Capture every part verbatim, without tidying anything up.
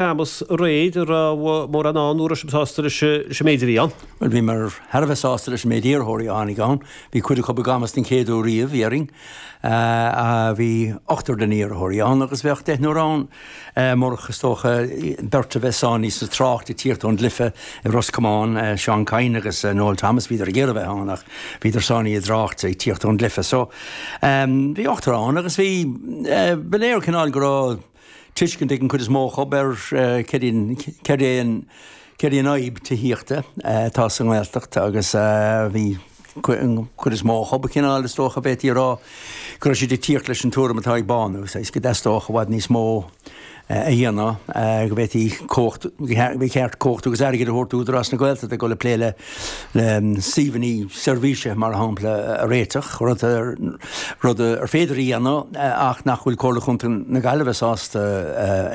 Camas aréir, an raibh mórán ann nó an raibh sibh sásta leis an méid a bhí ann? Bhuel, bhíomar thar a bheith sásta leis an méid iarrthóirí a tháinig ann. Bhí cuid acu i gCamas den chéad uair riamh, déarfainn. Bhí ochtar de na hiarrthóirí ann agus bheadh deichniúr ann murach, is dócha, beirt a bheith sáinnithe sa trácht ag tíocht ón gcluiche i Ros Comáin, Seán Kyne agus Noel Thomas, bhíodar ag iarraidh a bheith ann ach bhíodar sáinnithe i dtrácht ag tíocht ón gcluiche. So, bhí ochtar ann agus bhí, ba léir cineál go raibh tuiscint ag an chuid is mó acu ar céard é an céard í an fhadhb tithíochta atá sa nGaeltacht agus bhí an chuid is mó acu cineál is dócha b'fhéidir a rá go raibh siad ag tíocht leis an tuairim atá ag Bánú, saghas go dteastódh i bhfad níos mó a dhéanamh, go bhféadfaí cumhacht, ba cheart cumhacht agus airgead a thabhairt d'Údarás na Gaeltachta ag dul ag plé le suíomhanna seirbhíse mar shampla a réiteach, rud rud ar féidir a dhéanamh ach nach bhfuil Comhairle Chontae na Gaillimhe sásta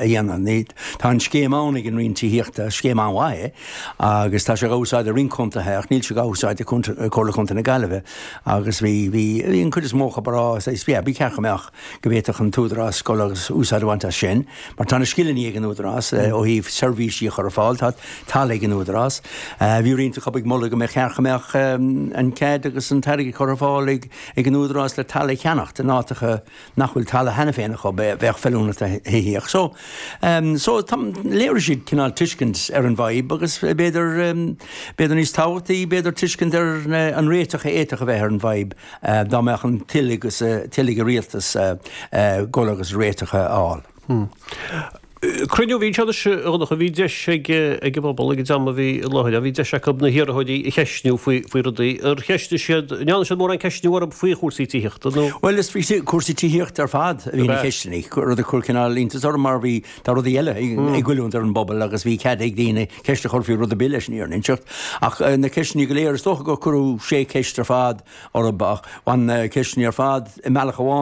a dhéanamh. Tá an scéim ann ag an Roinn Tithíochta, scéim an-mhaith é, agus tá sé á úsáid i roinnt contaetha ach níl sé á úsáid ag Comhairle Chontae na Gaillimhe agus bhí bhí an chuid is mó acu ag rá saghas yeah, ba cheart go mbeadh go bhféadfadh an tÚdarás dul agus úsáid a bhaint as sin mar tá na scileanna ag an Údarás ó thaobh seirbhísí a chur ar fáil, tá talamh ag an Údarás. Bhí roinnt acu ag moladh go mbeadh cheart go mbeadh an cead agus an t-airgead curtha ar fáil ag ag an Údarás le talamh a cheannacht in áiteacha nach bhfuil talamh cheana féin acu a bheadh feiliúnach do thithíocht. So so tá léirigh siad cineál tuiscint ar an bhfadhb agus b'fhéidir b'fhéidir níos tábhachtaí b'fhéidir tuiscint ar an réiteach a fhéadfadh a bheith ar an bhfadhb dá mbeadh an toil agus toil ag an rialtas dul agus réiteach a fháil. Cruinniú a bhí anseo anois a Dhonncha, bhí deis ag ag an bpobal ag an dream a bhí i láthair, bhí deis acu na hiarrthóirí a cheistniú faoi faoi rudaí. Ar cheistigh siad, an ndearna siad mórán ceistniú orthu faoi chúrsaí tithíochta nó? Bhuel is faoi chúrsaí tithíochta ar fad a bhí na ceisteanna, rud a chuir cineál iontas orm mar bhí tá rudaí eile ag goilliúint ar an bpobal agus bhí cead ag daoine ceist a chur faoi rud ar bith leis an fhírinne a inseacht. Ach na ceisteanna go léir, is dócha gur cuireadh sé cheist ar fad orthu ach bhain na ceisteanna ar fad i mbealach amháin